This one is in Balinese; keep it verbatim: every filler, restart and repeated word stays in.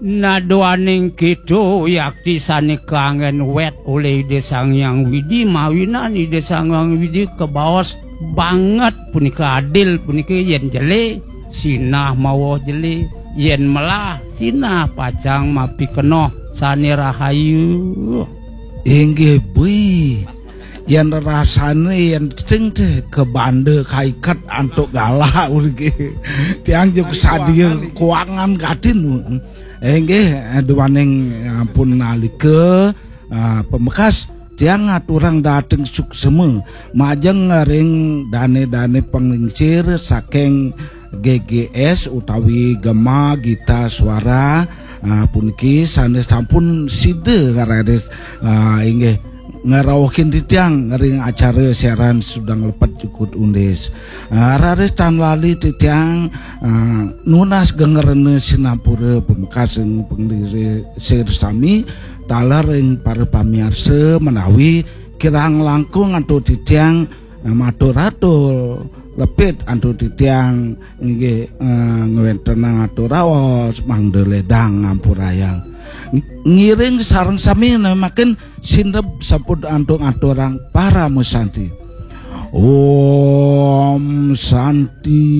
Naduaning kita yakti sane kanggen wet olih Ida Sang Hyang Widi, mawinan Ida Sang Hyang Widi kabaos banget punika adil punika, yen jele sinah mawa jele, yen melah sinah pacang mapikenoh sane rahayu. Inggih, bui. Yen rasane yen sing teh kabanda kaiket antuk galak ulih. Tiang juga sadia kuangan katin. Inggih, duaning ampun nalika, ah, pamekas tiang ngaturang dating suksema majeng ring dane-dane panglingsir saking G G S utawi Gema Gita Suara, ah, puniki sane sampun sida raris, ah, inggih ngrauhin titiang ring acara siaran Sudang Lepet Jukut Undis. Ah, raris tan lali titiang, ah, nunas gengrena sinampura pamekas ring panglingsir sami taler ring para pamiarsa menawi kirang langkung antuk titiang, ah, matur-atur lepit antuk titiang inggih, eh, ngwentenang atur raos mangda ledang ngampurayang. Ng-, ngiring sareng sami nemakin sindep sampun antuk aturang parama santi. Om Santi.